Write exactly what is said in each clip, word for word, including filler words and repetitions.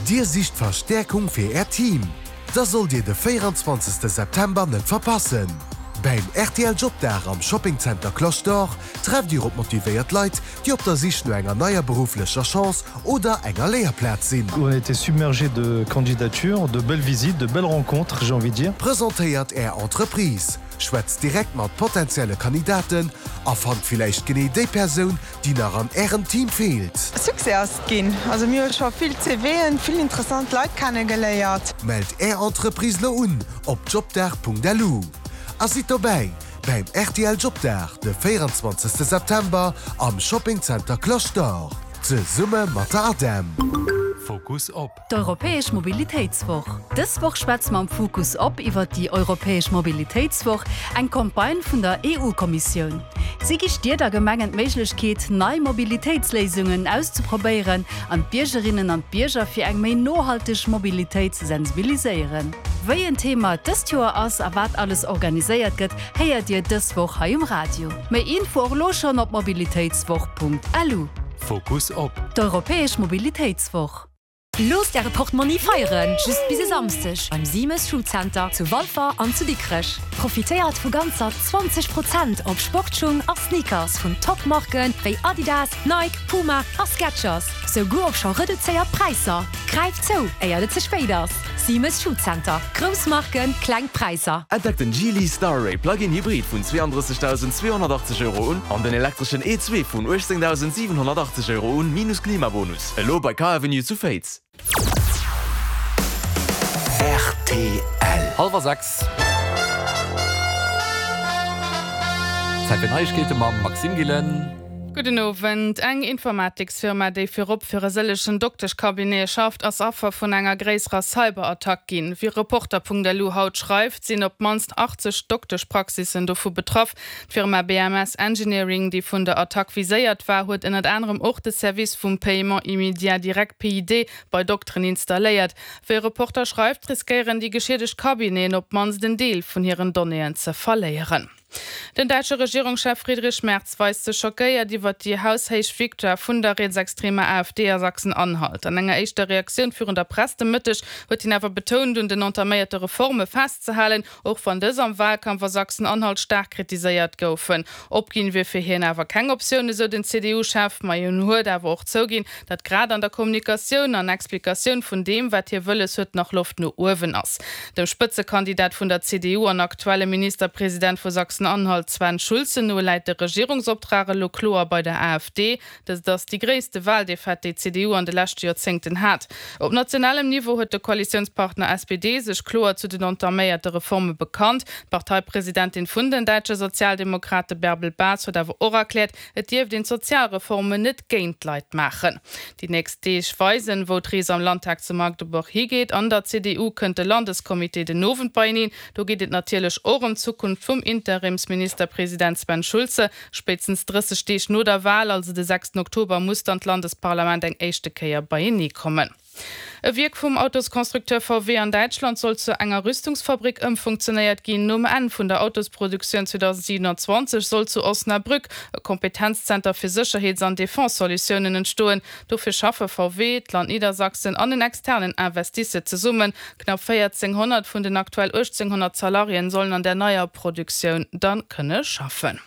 Dir sicht Verstäerkung fir Äert Team? Da sollt Dir de véieranzwanzegste September net verpassen! Beim rtl Jobdag am Shopping Center Cloche d'Or trefft Dir op motivéiert Leit, déi op der Sich no enger neier berufflecher Chance oder enger Léierplaz sinn. On a été submergé de candidatures, de belles visites, de belles rencontres, j'ai envie de dire. Presentéiert Är Entreprise, schwätzt direkt mat potenzielle Kandidaten a fannt villäicht genee déi Persoun, déi nach an Ärem Team feelt. Succès ass et ginn. Also mir hu scho vill CVen, vill interessant Leit kennegeléiert. Mellt Är Entreprise lo un op jobdag.lu a sidd dobäi beim rtl Jobdag de véieranzwanzegste September am Shopping Center Cloche d'Or zesumme mat der ADEM. Fokus op. D'Europäesch Mobilitéitswoch. Dës Woch schwätze mer am Fokus op iwwer déi Europäesch Mobilitéitswoch, eng Campagne vun der EU-Kommissioun. Si gi Stied a Gemengen d'Méiglechkeet, nei Mobilitéitsléisungen auszeprobéieren an d'Biergerinnen an d'Bierger fir eng méi nohalteg Mobilitéit ze sensibiliséieren. Wéi en Thema dëst Joer ass a wat alles organiséiert gëtt, héiert Dir dës Woch hei um Radio. Méi Info och elo schonn op mobilitéitswoch.lu. Fokus op. D'Europäesch Mobilitéitswoch. Loosst Äre Portmonni feieren, just bis e Samsdeg beim Siemes Schuhcenter zu Walfer an zu Dikrech. Profitéiert vu ganzer zwanzeg Prozent op Sportschung a Sneakers vun Top-Marken wéi Adidas, Nike, Puma a Skechers, souguer op scho reduzéiert Präisser. Gräift zou, éier et ze spéit ass! Siemes Schuhcenter, grouss Marken, kleng Präisser. Entdeckt den Geely Starray Plug-in Hybrid vun zweeandrëssegdausend zweehonnertachtzeg Euro un an den elektreschen E zwee vun uechtzéngdausend siwenhonnertachtzeg Euro un, minus Klimabonus. Elo bei Car Avenue zu Féiz. Rtl. Hallwer sechs. Zäit fir Neiegkeete mam Maxime Gillen. Gudden Owend. Eng Informatiksfirma, déi virop fir e sëllegen Dokteschcabinete schafft, ass Affer vun enger gréisserer Cyberattack ginn. Wéi Reporter Punkt L U haut schreift, sinn op d'mannst achtzeg Dokteschpraxissen dovu betraff. D'Firma B M S Engineering, déi vun der Attack viséiert war, huet ënnert anerem och de Service vum Paiement immédiat direct P I D bei Dokteren installéiert. Wéi Reporter schreift, riskéieren déi geschiedegt Cabineten op d'mannst en Deel vun hiren Donnéeën ze verléieren. Den däitsche Regierungschef Friedrich Merz weist sech schockéiert iwwer déi haushéich Victoire vun der rietsextremer A F D a Sachsen-Anhalt. An enger éischter Reaktioun virun der Press de Mëtteg huet hien awer betount, un den entaméierte Reforme festzehalen, och wann dës am Walkampf a Sachsen-Anhalt staark kritiséiert goufen. Opginn wier fir hien awer keng Optioun, esou den C D U-Chef, ma hien huet awer och zouginn, datt grad an der Kommunikatioun an Explikatioun vun deem, wat hie wëlles huet, nach Loft no uewen ass. Dem Spëtzekandidat vun der C D U an aktuelle Ministerpresident vu Sachsen-Anhalt Sven Schulze no läit de Regierungsoptrag elo kloer bei der A F D. Dëst ass déi gréisste Waldefaite, déi d'C D U an de leschte Joerzéngten hat. Op nationalem Niveau huet de Koalitiounspartner S P D sech kloer zu den entaméierte Reforme bekannt. D'Parteipresidentin vun den däitsche Sozialdemokrate Bärbel Bas huet awer och erkläert, et dierft een d'Sozialreformen net géint d'Leit maachen. Déi nächst Deeg weisen, wou d'Rees am Landtag zu Magdeburg higeet. An der C D U kënnt de Landeskommitee den Owend beieneen. Do geet et natierlech och ëm d'Zukunft vum Interimsministerpresident Sven Schulze. Spéitstens drësseg Deeg no der Wal, also de sechsten Oktober, muss dann d'Landesparlament eng éischte Kéier beienee kommen. E Wierk vum Autosconstructeur V W an Däitschland soll zu enger Rüstungsfabrik ëmfunktionéiert ginn. Nom Enn vun der Autosproduktioun zweedausendsiwenanzwanzeg soll zu Osnabrück e Kompetenzzenter fir Sécherheets an Defense-Solutiounen entstoen. Dofir schaffe V W, d'Land Niedersachsen an en externen Investisseur zesummen. Knapp véierzénghonnert vun den aktuell uechtzénghonnert Salariéen sollen an der neier Produktioun dann kënne schaffen.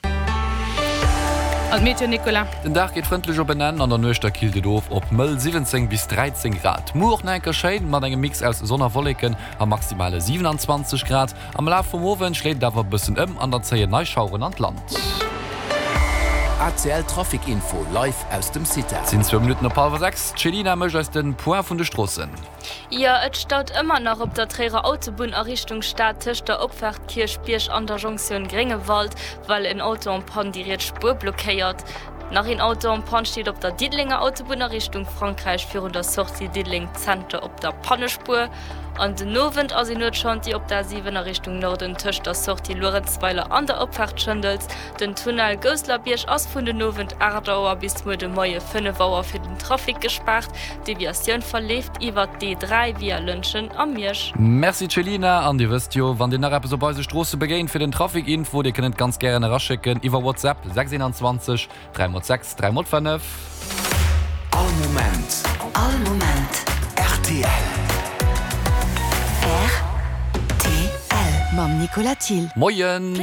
An d'Meteo, Nicolas. Den Dag geet frëndlech op en Enn, an der Nuecht da killt et of op mëll siwwenzéng bis dräizéng Grad. Muer och nach eng Kéier schéin mat engem Mix aus Sonn a Wolleken a maximale siewenanzwanzeg Grad. Am Laf vum Owend schléit et awer e bëssen ëm an dann zéien nei Schaueren an d'Land. R T L Trafic Info live aus dem CITAR. Et sinn zwou Minutten op hallwer sechs. D'Chelina mécht eis de Point vun de Stroossen. Jo, et staut ëmmer nach op der Tréierer Autobunn a Richtung Stad tëscht der Opfaart Kierchbierg an der Jonktioun Gréngewald, well en Auto en panne déi riets Spuer blockéiert. Nach een Auto en panne steet op der Diddelenger Autobunn a Richtung Frankräich virun der Sortie Diddeleng Zenter op der Pannespuer. An den Owend ass een Nuetschantier op der A siwen a Richtung Norden tëscht der Sortie Luerenzweiler an der Opfaart Schëndels. Den Tunnel Gousselerbierg ass vun den Owend aacht Auer bis muer de Moie fënnef Auer fir den Trafic gespaart. D'Deviatioun verleeft iwwer d'D dräi via Lëntgen a Miersch. Merci Chelina, an Dir wësst jo, wann Dir nach eppes op eise Stroosse begéint fir den Trafic Info, Dir kënnt et ganz gären eraschécken iwwer WhatsApp sechs eenanzwanzeg dräi mol sechs dräi mol fënnef. All Moment, Mam Nicolas Thill. Moien!